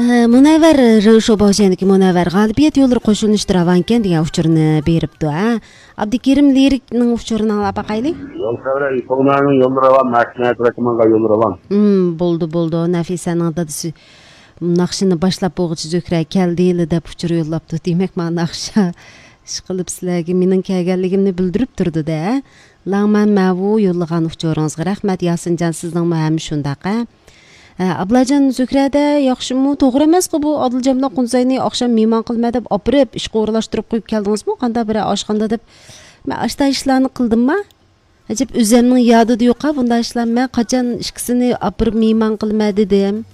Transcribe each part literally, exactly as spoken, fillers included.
ئە، مۇنەۋۋەر، رېشو باۋشەندىكى مۇنەۋۋەر غالىبىيەت يوللىرى قوشۇلۇشتا راۋانكەن دېگەن ئۇچۇرنى بېرىپتۇ، ھە؟ ئابدۇكېرىم لىرىكنىڭ ئۇچۇرىنى ئاڭلاپ باقايلى. يول خەۋىرى، يوللىرى راۋان، مەھكىمە تەرەپىمىزگە يوللىرى راۋان. ھىم، بولدى، بولدى. نەفىسەنىڭ دادىسى ناخشىنى باشلاپ بولغۇچە زۆھرە كەلدىلا دەپ ئۇچۇر يوللاپتۇ. دېمەك، مانا ناخشا ئىشقىلىپ سىلەرگە مېنىڭ كەلگەنلىكىمنى بىلدۈرۈپ تۇرىدۇ-دە. لاڭمەن مەۋۇ يوللىغان ئۇچۇرىڭىزغا رەھمەت. ياسىنجان، سىزنىڭمۇ ھەم شۇنداق، ھە؟ ئە، ئابلاجان، زۆھرەدە ياخشىمۇ؟ توغرا ئەمەسقۇ بۇ، ئادىلجان بىلەن قۇنزاينى ئاخشام مېھمان قىلىمەن دەپ ئاپىرىپ، ئىشقا ئورۇنلاشتۇرۇپ قويۇپ كەلدىڭىزمۇ؟ قانداق بىرەر ئاشخانىدا دەپ. مەن ئاشتا ئىشلارنى قىلدىمما؟ ئەجەب ئۆزەمنىڭ يادىدا يوقا بۇنداق ئىشلار. مەن قاچان ئىككىسىنى ئاپىرىپ مېھمان قىلىمەن دېدىم؟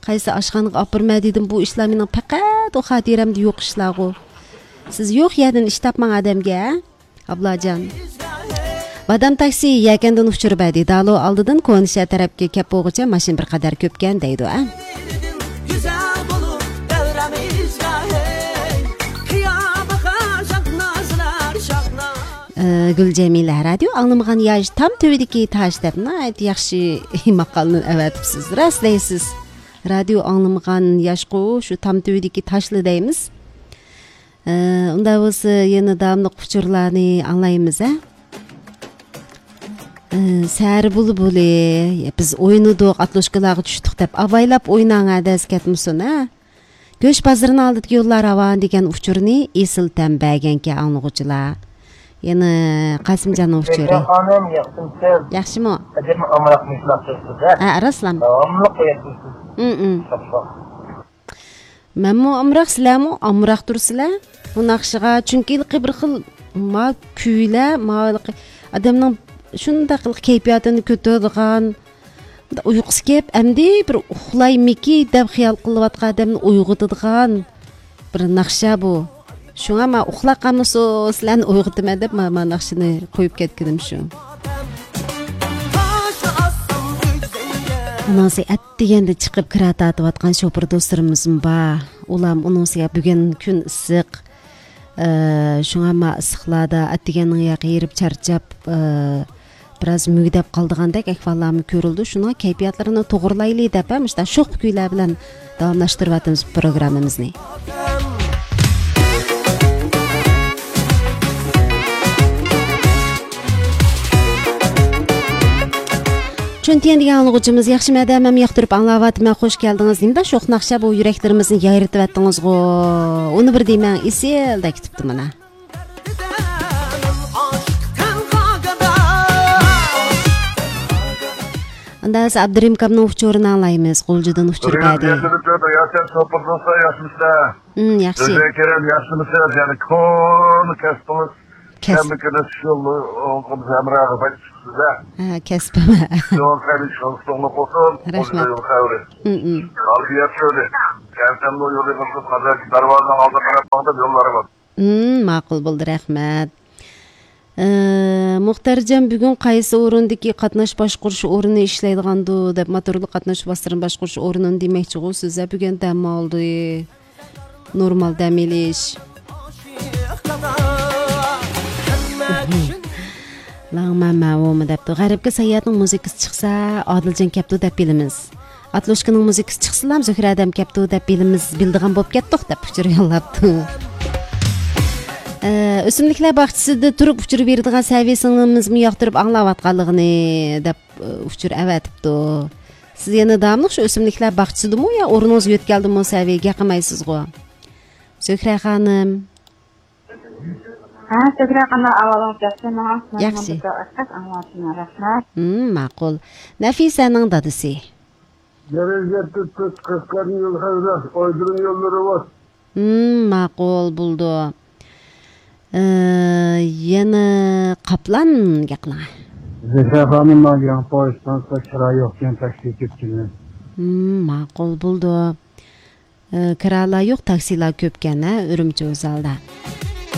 قايسى ئاشخانىغا ئاپىرىمەن دېدىم؟ بۇ ئىشلار مېنىڭ پەقەت ئۇ خاتىرەمدە يوق ئىشلارغۇ. سىز يوق يەردىن ئىش تاپماڭ ئادەمگە، ھە؟ ئابلاجان. بادام تاكسى يەكەندىن ئۇچۇر بەردى. دالو ئالدىدىن كونا شەھەر تەرەپكە كەپ بولغۇچە ماشىنا بىر قەدەر كۆپكەن دەيدۇ، ھە؟ ئە، گۈلجەمىلە، رادىيو ئاڭلىمىغان ياش تام تۈۋىدىكى تاش دەپ ناھايىتى ياخشى ماقالنى ئەۋەتىپسىز. راست دەيسىز. رادىيو ئاڭلىمىغان ياشقۇ شۇ تام تۈۋىدىكى تاشلا دەيمىز. ئە، ئۇنداق بولسا يەنە داۋاملىق ئۇچۇرلارنى ئاڭلايمىز، ھە؟ ئە، سەرى بۇلبۇلى، بىز ئوينىدۇق، ئاتلوشكىلارغا چۈشتۇق دەپ ئاۋايلاپ ئويناڭ، ھە، دەس كەتمىسۇن، ھە؟ گۆش بازىرىنىڭ ئالدىدىكى يوللار راۋان دېگەن ئۇچۇرنى ئېسىل تەم بەرگەنكەن ئاڭلىغۇچىلار. يەنە قاسىمجاننىڭ ئۇچۇرى. زۆھرە خانىم، ياخشىمۇسىز؟ ياخشىمۇ؟ ئەجەبمۇ ئامراق مۇشۇنداق سۆزسىز، ھە؟ ھە، راستلام. داۋاملىق قويۇۋاتىسىز. ئىم، ئىم. شاباش. مەنمۇ ئامراق، سىلەرمۇ ئامراق تۇرسىلەر بۇ ناخشىغا. چۈنكى ھېلىقى بىر خىل ما كۈيلەر، ما ھېلىقى ئادەمنىڭ شۇنداق ھېلىقى كەيپىياتىنى كۆتۈرىدىغان، ئۇيقۇسى كېلىپ، ئەمدى بىر ئۇخلايمىكى دەپ خىيال قىلىۋاتقان ئادەمنى ئويغىتىدىغان بىر ناخشا بۇ. شۇڭا مەن ئۇخلاپ قالمىسۇن، سىلەرنى ئويغىتىمەن دەپ مانا، مانا ناخشىنى قويۇپ كەتكىنىم شۇ. ئۇنىڭسى ئەتىگەندە چىقىپ كىرا تارتىۋاتقان شوپۇر دوستلىرىمىزمۇ بار. ئۇلارمۇ ئۇنىڭسىگە بۈگۈن كۈن ئىسسىق. ئە، شۇڭا ما ئىسسىقلاردا ئەتىگەننىڭ ياقى ھېرىپ چارچاپ، ئە، بىراز مۈگدەپ قالىدىغاندەك ئەھۋاللارمۇ كۆرۈلىدۇ. شۇنىڭغا كەيپىياتلىرىنى توغرىلايلى دەپ، ھە، مۇشۇنداق شوخ كۈيلەر بىلەن داۋاملاشتۇرۇۋاتىمىز پروگراممىمىزنى. چۈنتىيەن دېگەن ئاڭلىغۇچىمىز، ياخشىمۇ ئادەم، ھەم ياقتۇرۇپ ئاڭلاۋاتىمەن، خوش كەلدىڭىز. نېمىدا شوخ ناخشا بۇ، يۈرەكلىرىمىزنى يايرىتىۋەتتىڭىزغۇ. ئۇنى بىر دېمەڭ، ئېسىلدەك كېتىپتۇ مانا. ئاندا ھازىر ئابدۇرېھىم ئاكامنىڭ ئۇچۇرىنى ئاڭلايمىز. غۇلجىدىن ئۇچۇر بەردى. ياخشى. ئىم، ياخشى. سىزگە كېرەم ياخشىمۇسىز؟ يەنە كونا كەسپىڭىز. كەسىپ. ھەممە كۈنى شۇ يولنى ئوڭقىمىز ھەمراھىغا باشلىشىپسىز-ھە. ھە، كەسپىم. يول خەير، ئىشىڭىز توغرا بولسۇن. رەھمەت. يول خەير. ئىم، ئىم. قالدى يەر شۆلى. كەلسەممۇ يولىڭىزنى قازاق دەرۋازىنىڭ ئالدىغا قاراپ ماڭدىم، يوللارغا. ئىم، ماقۇل بولدى، رەھمەت. ئە، مۇختەرجان، بۈگۈن قايسى ئورۇندىكى قاتناش باشقۇرۇش ئورنى ئىشلەيدىغاندۇ دەپ، موتورلۇق قاتناش ۋاسىتىلىرىنى باشقۇرۇش ئورنىنى دېمەكچىغۇ سىز-ھە، بۈگۈن دەم ئالدى. نورمال دەم ئېلىش. لاڭمەن مەۋۇمۇ دەپتۇ. غەربكە ساياھەتنىڭ مۇزىكىسى چىقسا، ئادىلجان كەپتۇ دەپ بىلىمىز. ئاتلوشكىنىڭ مۇزىكىسى چىقسىلام، زۆھرە ئادەم كەپتۇ دەپ بىلىمىز، بىلىدىغان بولۇپ كەتتۇق دەپ ئۇچۇر يوللاپتۇ. ئە، ئۆسۈملۈكلەر باغچىسىدا تۇرۇپ ئۇچۇر بېرىدىغان سەۋىي سىڭلىمىزمۇ ياقتۇرۇپ ئاڭلاۋاتقانلىقىنى دەپ، ئە، ئۇچۇر ئەۋەتىپتۇ. سىز يەنە داۋاملىق شۇ ئۆسۈملۈكلەر باغچىسىدىمۇ يا ئورنىڭىز يۆتكەلدىمۇ سەۋىيگە قىلمايسىزغۇ؟ زۆھرە خانىم. ھە، زۆھرە خانىم، ئەھۋالىڭىز ياخشىمۇ؟ ياخشى. ماڭا بىر ئاز ئاڭلىتىڭ، رەھمەت. ھىم، ماقۇل. نەفىسەنىڭ دادىسى. دەرەجە تۆت، قەشقەرنىڭ يول خەۋىرى، ئايدۇرنىڭ يوللىرى بار. ھىم، ماقۇل، بولدى. ئى، يەنە قاپلان گەپلەڭ. زۆھرە خانىم، ماڭا يېڭى پويىز ئىستانسىسىدا كىرا يوقكەن، تاكسى كۆپكەن. ھىم، ماقۇل، بولدى. ئى، كىرالار يوق، تاكسىلار كۆپكەن، ھە، ئۈرۈمچى ۋوززالدا.